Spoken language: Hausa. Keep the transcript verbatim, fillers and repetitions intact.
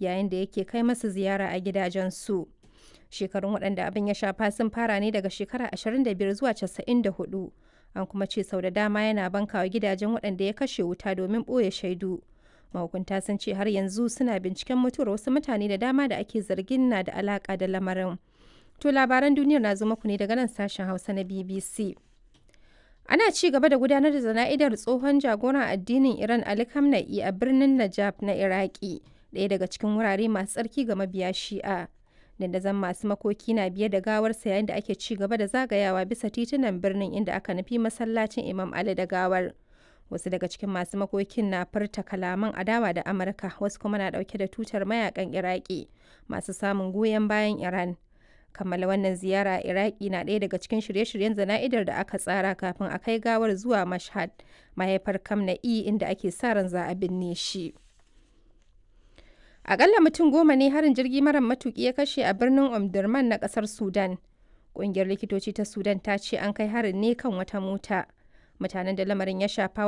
yayin da yake kai masu ziyara a gidajensu. Shekarun waɗanda abin ya shafa sun fara ne daga shekara ashirin da biyar zuwa casa'in da huɗu. An kuma ce sau da dama yana bankawa gidajen waɗanda ya kashe wuta domin ɓoye shaidu. Mahukunta sun ce har yanzu suna binciken mutuwar wasu mutane da dama da ake zargin na da alaƙa da lamarin. To, labaran duniyar na zo muku ne daga nan sashen Hausa na B B C. Ana ci gaba da gudanar da zana'idar tsohon jagoran addinin Iran Ali Khamenei a birnin Najaf na Iraki, ɗaya daga cikin wurare masu tsarki ga mabiya Shi'a. Dandazon masu makoki na biye da gawarsa yayin da ake ci gaba da zagayawa bisa titunan birnin, inda aka nufi masallacin Imam Ali da gawar. Wasu daga cikin masu makokin na furta kalaman adawa da Amurka, wasu kuma na ɗauke da tutar mayakan Iraki masu samun goyon bayan Iran. Kammala wannan ziyara a Iraki na ɗaya daga cikin shirye-shiryen zana'idar da aka tsara kafin a kai gawar zuwa Mashhad, mahaifar Kamna'i, inda ake sa ran za a binne shi. Akalla mutum goma ne harin jirgi mara matuki ya kashe a birnin Omdurman na kasar Sudan. Ƙungiyar likitoci ta Sudan ta ce an kai harin ne kan wata mota. Mutanen da lamarin ya shafa